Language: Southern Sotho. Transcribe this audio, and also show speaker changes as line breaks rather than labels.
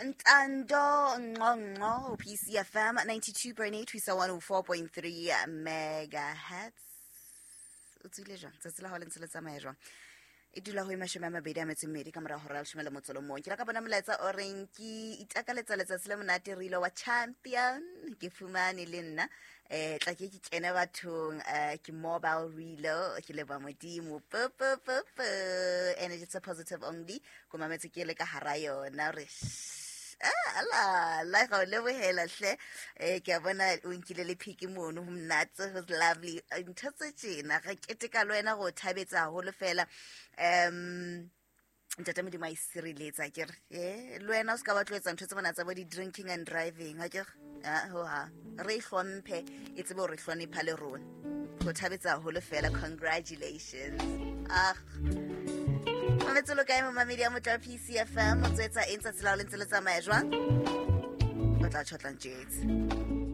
Ntando Nqonqo, PCFM 92.8 ho isa 104.3 megahertz. O tswile jwang? Tsatsi la hao le ntse le tsamaya jwang? E dula ho e 22 ka mora hora ya 11. Ke la ka bona molaetsa o reng ke itakaletsa letsatsi le monate re ile wa champion ke fumane le nna tla ke ke kene bathong ke mobile relo ke leba modimo p p p p energy it's a positive only ko mametse ke le ka hara yona re ala la ga o lebohela hle. Ke a bona o nkile le phiki mono, ho monate, ho lovely. Ntho tse tjena re keteka le wena go thabetsa haholo fela. Ntate Modimo a isireletsa ke re le wena o se ka ba tlo etsa ntho tse mona tsa bo di-drinking and driving, ha ke re ho ha re e hlomphe, e tsebe hore hlonepha le rona. Go thabetsa haholo fela, congratulations. Ah, mametse lo kae momamedi ya motla PCFM? O tswetsa eng tsatsi la ho le ntse le tsamaya jwang? O tla tjhotlang tjetse.